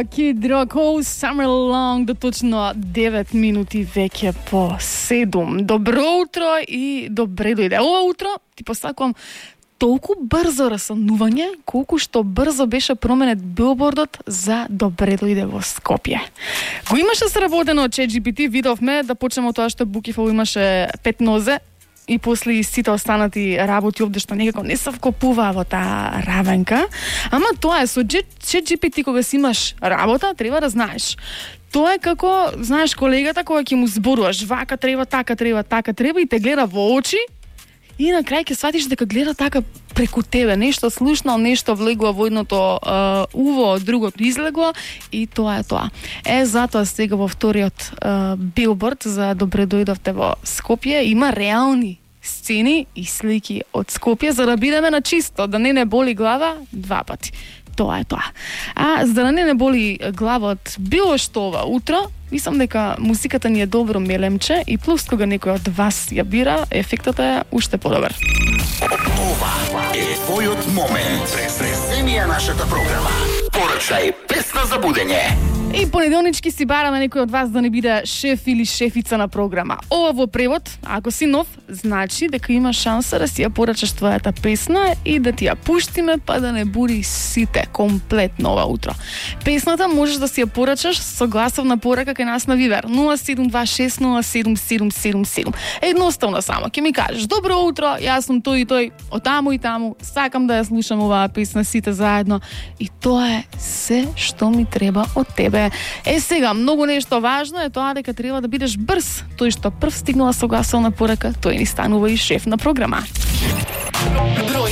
Kid Rock, All Summer Long, до точно 9 минути веќе по 7. Добро утро и добре дојде. Ова утро ти посакувам толку брзо расанување, колку што брзо беше променет билбордот за добре дојде во Скопје. Го имаше сработено од ChatGPT, видовме да почнеме од тоа што Букифол имаше 5 нозе, и после и сите останати работи овде што некако не се вкопуваа во таа равенка. Ама тоа е со ChatGPT, кога си имаш работа, треба да знаеш. Тоа е како, знаеш, колегата кога ќе му зборуваш, вака треба, така треба и те гледа во очи и на крај ќе сватиш дека гледа така преку тебе, нешто слушнал, нешто влегло во едното уво, другото излегло и тоа е тоа. Затоа сега во вториот билборд за добре дојдовте во Скопје има реални сцени и слики од Скопје за да бидеме на чисто, да не боли глава 2 пати. Тоа е тоа. А за да не боли глава од било што ова утро, мислам дека музиката ни е добро мелемче и плюс кога некој од вас ја бира, ефектот е уште подобар. Ова е твојот момент. Преземија нашата програма. Порачај песна за будење. И понеделнички си бараме некој од вас да не биде шеф или шефица на програма. Ова во превод, ако си нов, значи дека има шанса да си ја порачаш твојата песна и да ти ја пуштиме, па да не буди сите комплетно ова утро. Песната можеш да си ја порачаш со гласовна порака кај нас на Вивер 0726077777. Едноставно само ќе ми кажеш: добро утро, јас сум тој и тој, од таму и таму, сакам да ја слушам оваа песна сите заедно и тоа е се што ми треба од тебе. Сега, многу нешто важно е тоа дека треба да бидеш брз. Тој што прв стигнала со гласовна порака, тој ни станува и шеф на програма.